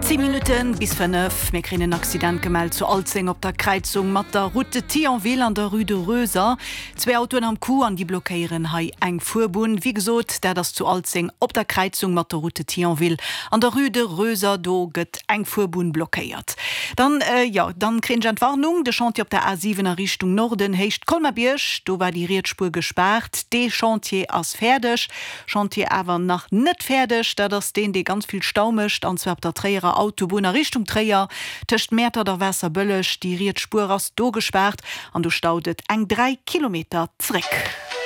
10 Minutten bis 5, Mir kréien en Accident gemellt zu Alzeng op der Kräizung mat der Route de Thionville an der Rue de Roeser. Zwee Autoen am Coup an déi blockéieren hei eng Fuerbunn. Wéi gesot, dat ass zu Alzeng op der Kräizung mat der Route de Thionville an der Rue de Roeser. Do gëtt eng Fuerbunn blockéiert. Dann, jo, dann kréien ech Entwarnung, De Chantier op der A7 a Richtung Norden, Héicht Colmar-Bierg, do war déi riets Spuer gespaart. Dee Chantier ass fäerdeg. Chantier awer nach net fäerdeg, dat ass deen, dee ganz vill Stau mécht, an zwar op der Tréierer Autobunn a Richtung Tréier, tëscht Mäertert a Waasserbëlleg. Déi riets Spuer ass do gespaart an do staut et eng 3 Kilometer zréck.